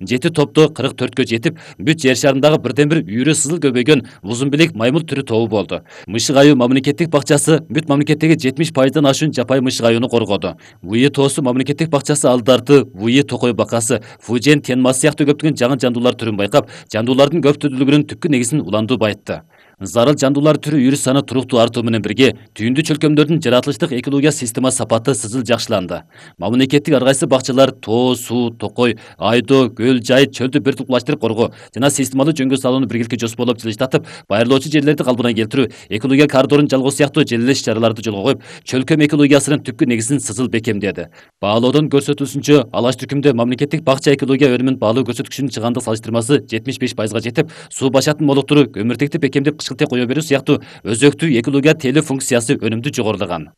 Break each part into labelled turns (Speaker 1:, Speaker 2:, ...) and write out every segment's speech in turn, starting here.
Speaker 1: 7 топту 44кө жетип, бүт жер шарындагы бирден бир үйрү сызыл көбөйгөн узун белек маймыл түрү тобу болду. Мышык айыл мамлекеттик бакчасы бүт мамлекеттеги 70%дан ашуун жапайы мышык айылын коргоду. Вуйи тоосу мамлекеттик бакчасы алдарты, Вуйи токой бакасы, Фужен тенмасы сыяктуу көптөгөн жаңы жандуулар түрүн байкап, жандуулардын көптөлдүгүнүн түпкү негизин улантуу байытты. Зарыл жандуулар түрү үйрү саны туруктуу артуу менен бирге түйүндү чөлкөмдөрдүн жаратылыштык экология система сапаты сызыл жакшыланды. Мамлекеттик ар кайсы бакчалар тоо, суу, токой, айдоо, көл, жай, чөлдү биртуктуулаштырып коргоо жана системалуу жөнгө салууну биргеликке жоспорлоп жылыштатып, байырлоочу жерлерди калыбына келтирүү, экология коридорун жалгоо сыяктуу желелеш чараларды жолго коюп, чөлкөм экологиясынын түпкү негизин сызыл бекемдеди. Баалоодон көрсөтүлүшүнчө, алаш түркүмдө мамлекеттик бакча экология өнүмүн баалоо көрсөткүчүнүн чыгандык салыштырмасы 75%га жетип, суу башатын молуктуру көмүртекти бекемдеп кышкылтек кое берүү сыяктуу өзөктүү экология тейлөө функциясы өнүмдүү жогорулаган.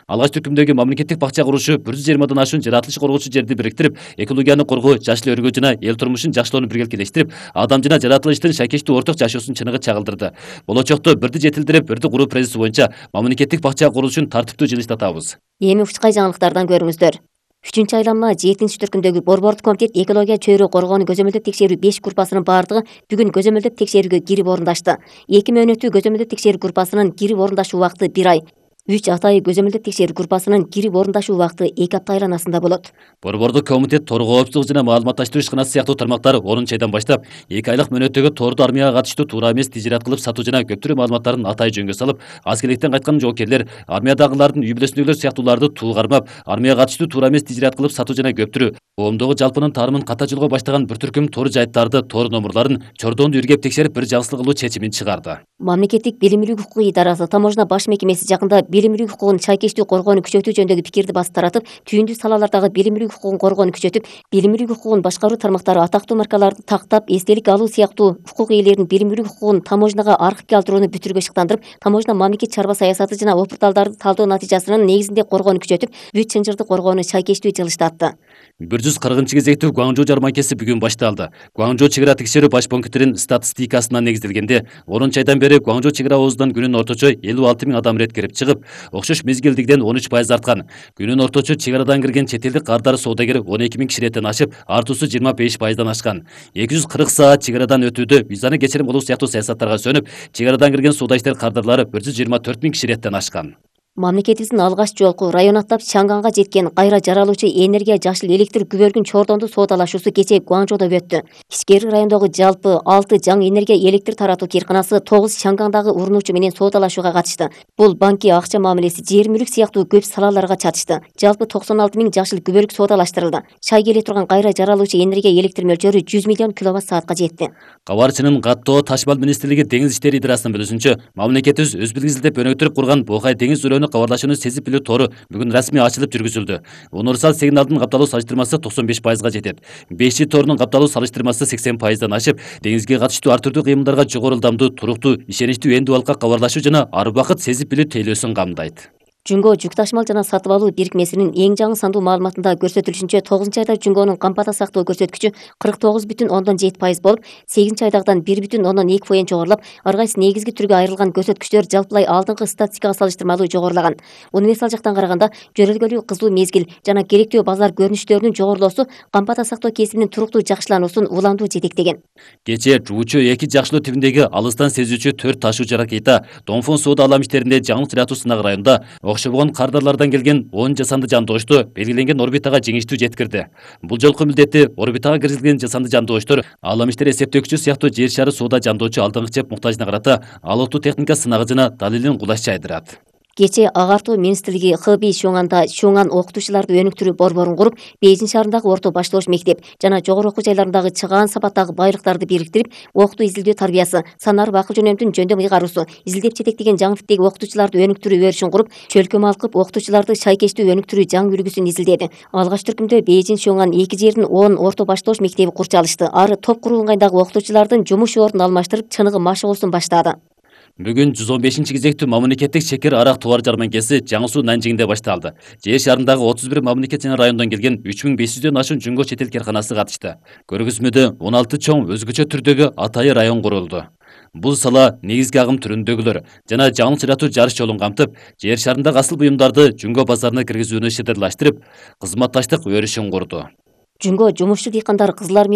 Speaker 1: Алаш түркүмдөгү мамлекеттик бакча курушу 120дан ашуун жаратылыш коргоочу жерди бириктирип, экологияны коргоо, жашыл өргөө жана эл турмушун жакшылоону биргеликелештирип, адам жана жаратылыштын шайкештүү орток жашоосун чыныгы чагылдырды. Болочокто бирди жетилдирип, бирди куруу принципи боюнча мамлекеттик бакча курулушун тартиптүү жылыштатабыз.
Speaker 2: Эми учкай жаңылыктардан көрүңүздөр. 3-айланма 7 түркүмдөгү борбордук комитет экология чөйрө коргоону көзөмөлдөп текшерүү 5 группасынын бардыгы бүгүн көзөмөлдөп текшерүүгө кирип орундашты. 2 мөөнөттүү көзөмөлдөп текшерүү группасынын кирип орундашуу убакыты 1 ай. 3 атайы көзөмөлдөп текшерүү группасынын кирип орундашуу убакыты 2 апта айланасында болот.
Speaker 1: Борбордук комитет тор коопсуздук жана маалыматташтыруу ишканасы сыяктуу тармактар 10 айдан баштап 2 айлык мөөнөттөгү торду армияга катыштуу туура эмес тижират кылып сатуу жана көптөрүү маалыматтарын атайы жөнгө салып, аскерликтен кайткан жоокерлер, армиядагылардын үй бүлөсүндөгүлөр сыяктууларды туу кармап, армияга катыштуу туура эмес тижират кылып сатуу жана көптөрүү коомдогу жалпынын таарымын ката жолго баштаган бир түркүм тор жайттарды, тор номурларын, чордонду үргеп текшерип бир жагысылык кылуу чечимин чыгарды.
Speaker 2: Мамлекеттик билимилүү укук идарасы Таможня баш мекемеси жакында билимилүү укугун чайкештүү коргоону күчөтүү жөнүндөгү пикирди басып таратып, түйүндүү салалардагы билимилүү укугун коргоону күчөтүп, билимилүү укугун башкаруу тармактары атактуу маркаларды тактап, эстелик алуу сыяктуу укук ээлеринин билимилүү укугун таможняга архивге алдырууну бүтүрүүгө шыктандырып, таможня мамлекет чарба саясаты жана опурталдарды талдоо натыйжасынын негизинде коргоону күчөтүп, бүт чынжырды коргоону чайкештүү жылыштатты.
Speaker 1: 140-кезектүү Гуаңжоу жарманкеси бүгүн башталды. Гуаңжоу чек ара текшерүү баш пунктинин статистикасына негизделгенде, 10 айдан бери Гуаңжоу чек ара оозунан күнүнө орточо 56 000 адам ирет кирип чыгып, окшош мезгилдигиден 13% арткан. Күнүнө орточо чек арадан кирген чет элдик каардар соодагер 12 000 киширеттен ашып, артуусу 25%дан ашкан. 240 саат чек арадан өтүүдө визаны кечирим кылуу сыяктуу саясаттарга сөнүп, чек арадан кирген соода иштер каардарлары 124 000 киширеттен ашкан.
Speaker 2: Мамлекетибиздин алгач жолку район аттап Чанганга жеткен кайра жаралуучу энергия жашыл электр күбөлгүн чордонду соодалашуусу кечээ Гуаңжоодо өттү. Ишкери райондогу жалпы 6 жаңы энергия электр таратуу кыйрканасы 9 Чангандагы урунуучу менен соодалашууга катышты. Бул банки, акча мамилеси, жер мүлүк сыяктуу көп салаларга чатышты. Жалпы 96 000 жашыл күбөлүк соодалаштырылды. Чай келе турган кайра жаралуучу энергия электр мөлчөрү 100 миллион киловатт-саатка жетти.
Speaker 1: Кабарчынын каттоо Ташмал министрлиги деңиз иштери идарасынын билүүсүнчө, мамлекетибиз өз билгизилдеп өнүктүрүп курган Бокай деңиз өрөөнү кабарлашууну сезип билүү тору бүгүн расмий ачылып жүргүзүлдү. Универсал сигналдын капталуу салыштырмасы 95%га жетет. 5G торунун капталуу салыштырмасы 80%дан ашып, деңизге катыштуу ар түрдүү кыймылдарга жогору ылдамдуу, туруктуу, ишеничтүү эндүү балыкка кабарлашуу жана ар убакыт сезип билүү тейлөөсүн камдайт.
Speaker 2: Жүнгө жүк ташмал жана сатып алуу бирикмесинин эң жаңы сандуу маалыматында көрсөтүлүшүнчө 9-айда Жүнгөнүн кампада сактоо көрсөткүчү 49,7% болуп, 8-айдагыдан 1,2% жогорулап, ар кайсы негизги түргө айрылган көрсөткүчтөр жалпылай алдыңкы статистикага салыштырмалуу жогорулаган. Универсал жактан караганда, жөрөлгөлүү кызуу мезгил жана керектүү базар көрүнүштөрүнүн жогорулоосу кампада сактоо кесибинин туруктуу жакшылануусун уламдуу жетектеген.
Speaker 1: Кечээ Жуучу 2 жакшылоо тибиндеги алыстан сезүүчү 4 ташуучу ракета Донфон соода алам иштеринде жаңылык жаратуу сынагы районунда окшобогон кардарлардан келген 10 жасанды жандоошту белгиленген орбитага жеңиштүү жеткирди. Бул жолку милдети орбитага киргизилген жасанды жандооштор алам иштер эсептөөкчү сыяктуу жер шары соода жандоочу алдыңкы чеп муктажына карата алыктуу техника сынагы жана далилин кулаш жайдырат.
Speaker 2: Кечээ Агартуу министрлиги Хэби Шуңанда Шуңан окутуучуларды өнүктүрүү борборун куруп, Бейжин шаарындагы орто башталыш мектеп жана жогору окуу жайларындагы чыгаан сапаттагы байлыктарды бириктирип, окутуу изилдөө тарбиясы, санар акыл жөнөмдүн жөндөм ыйгаруусу, изилдеп жетектеген жаңы типтеги окутуучуларды өнүктүрүү өрүшүн куруп, чөлкөмө алкып окутуучуларды шайкештүү өнүктүрүү жаңы үлгүсүн изилдеди. Алгач түркүмдө Бейжин Шуңан 2 жердин 10 орто башталыш мектеби курчалышты. Ары топ куруу ыңгайдагы окутуучулардын жумуш ордун алмаштырып, чыныгы машыгуусун баштады.
Speaker 1: Бүгүн 115-кезектүү мамлекеттик шекер арак товар жарманкеси Жаңы Суу Нанжиңде башталды. Жер шарындагы 31 мамлекет жана райондон келген 3500дөн ашуун Жүнгө чет эл карканасы катышты. Көргөзмөдө 16 чоң өзгөчө түрдөгү атайы район курулду. Бул сала негизги агым түрүндөгүлөр жана жаңылык жаратуу жарыш жолун камтып, жер шарындагы асыл буюмдарды Жүнгө базарына киргизүүнү шыдырлаштырып, кызматташтык өрүшүн курду.
Speaker 2: Жүнгө жумушчу дыйкандар Кызыл Армия